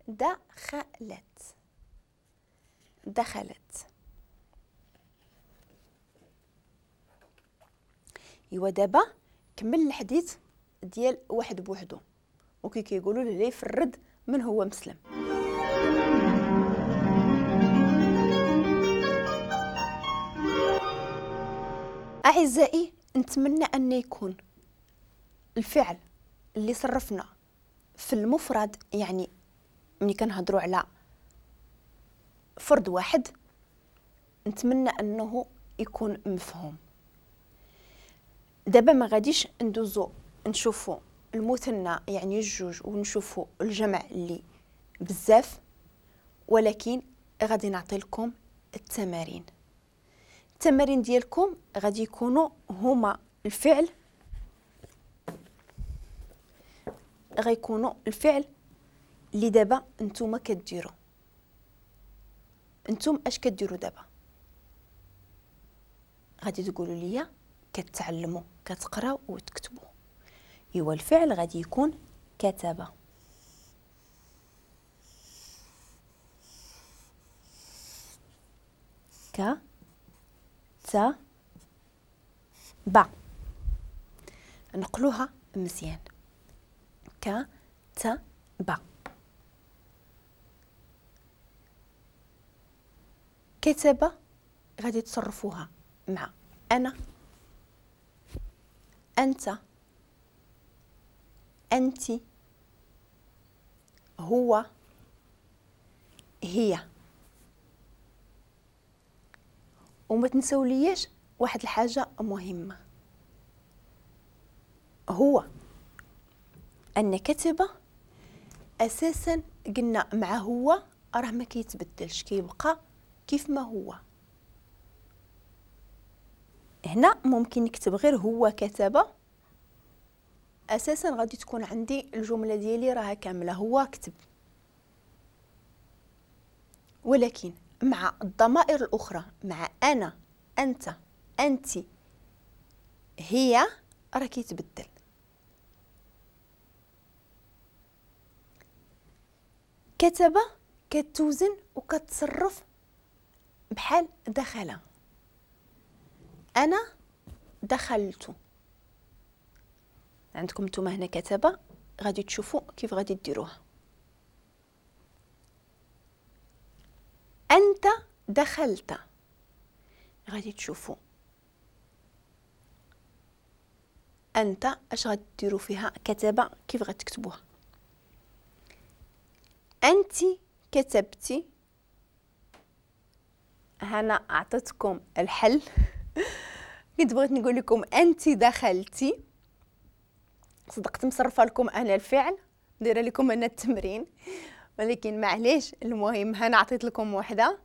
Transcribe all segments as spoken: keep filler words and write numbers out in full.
دخلت، دخلت. ايوا دابا كمل الحديث ديال واحد بوحدو، وكي كيقولوا له يفرد من هو مسلم. اعزائي نتمنى ان يكون الفعل اللي صرفنا في المفرد، يعني ملي كنهضروا على فرد واحد، نتمنى انه يكون مفهوم. دابا ما غاديش ندوزو نشوفوا المثنى يعني الجوج ونشوفوا الجمع اللي بزاف، ولكن غادي نعطي لكم التمارين. التمارين ديالكم غادي يكونوا هما الفعل، غيكونوا الفعل اللي دابا نتوما كديروا. نتوما اش كديروا دابا؟ غادي تقولوا لي كتعلموا، كتقراو وتكتبوا. ايوا الفعل غادي يكون كتب. ك ت ب، نقلوها مزيان، ك ت ب. كتب غادي تصرفوها مع أنا، أنت، أنت، هو، هي. وما تنسوليش واحد الحاجة مهمة، هو أن كتب أساسا قلنا مع هو راه ما كيتبدلش، كيبقى كيف ما هو. هنا ممكن نكتب غير هو كتب، أساسا غادي تكون عندي الجملة ديالي راها كاملة، هو كتب. ولكن مع الضمائر الأخرى، مع أنا، أنت، أنت، هي، راه كيتبدل. كتب كتوزن وكتصرف بحال دخل. أنا دخلت. عندكم نتوما هنا كتب، غادي تشوفوا كيف غادي ديروها. أنت دخلت، غادي تشوفوا أنت اش غاديروا فيها كتب، كيف غتكتبوها. أنت كتبتي، هنا أعطيتكم الحل. كنت بغيت نقول لكم أنت دخلتي، صدقت مصرفة لكم أنا الفعل، دايرة لكم أنا التمرين، ولكن معليش. المهم هنا عطيت لكم وحده،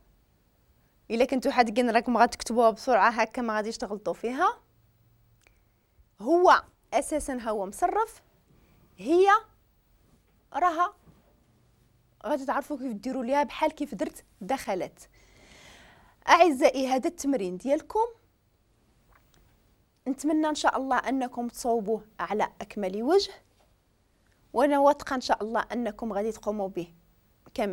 الا كنتو حادقين راكم غتكتبوها بسرعة هكا ما غاديش تغلطوا فيها. هو اساسا هو مصرف، هي راها غادي تعرفوا كيف ديروا ليها بحال كيف درت دخلت. اعزائي هذا التمرين ديالكم نتمنى ان شاء الله انكم تصوبوه على اكمل وجه، وانا واثقة ان شاء الله انكم غادي تقوموا به